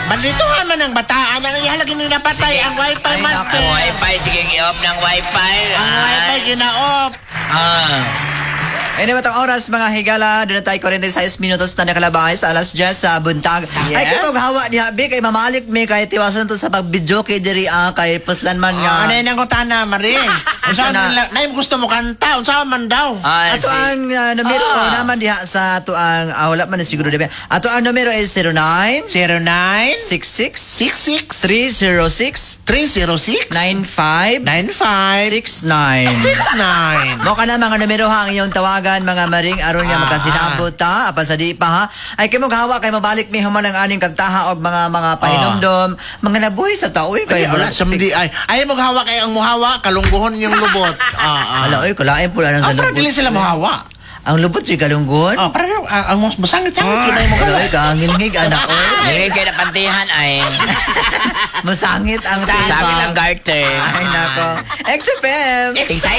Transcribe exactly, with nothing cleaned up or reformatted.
Bandituhan man ang bataan. Ang iya lagi ni napatay Sige. ang wifi Ay, master. Ang wifi, sige, i-off ng wifi. Ang wifi gina-off. Ah. Anyway, itong oras mga higala, doon na tayo forty-six minutos na nakalabay sa alas diyes sa buntag. Yes. Ay, kitog hawa diha, bi, kay mamalik mi, kay tiwasan to sa pagbidyo kay diri ah, kay puslan man nga. Ah, ano yung kutana, Maring? Unsa Unsa na? man na? Nay gusto mo kanta, unsa man daw? Ah, Ato si- ang uh, numero Ah. naman diha sa ato ang ah, wala man na siguro diba. Ato ang numero is zero nine zero nine six six six six three zero six three zero six nine five nine five six nine. six nine. Mo ka na mga numero ha ang iyong tawagan, mga maring, aron nga Ah. magkasinabot ta apan sa di pa ha ay kay hawa kay mabalik mi human ang aning kantaha og mga mga pahinomdom mga nabuhi sa tao eh, kay Ay, wala sa di ay. Ay maghawa kay ang muhawa, kalungguhon yung lubot. Ah, ah. Ala oy, kulain pula nang sa Ah, pero lubot. dili sila muhawa. Ang lubot si kalungguhon. Ah, pero ah, ang mas masangit-sangit yun ay Ala muhawa. oy, kaangilngig anak oy. Dili kay napantihan ay. Masangit ang Sa akin ang garter. Ay nako. X F M. Excited.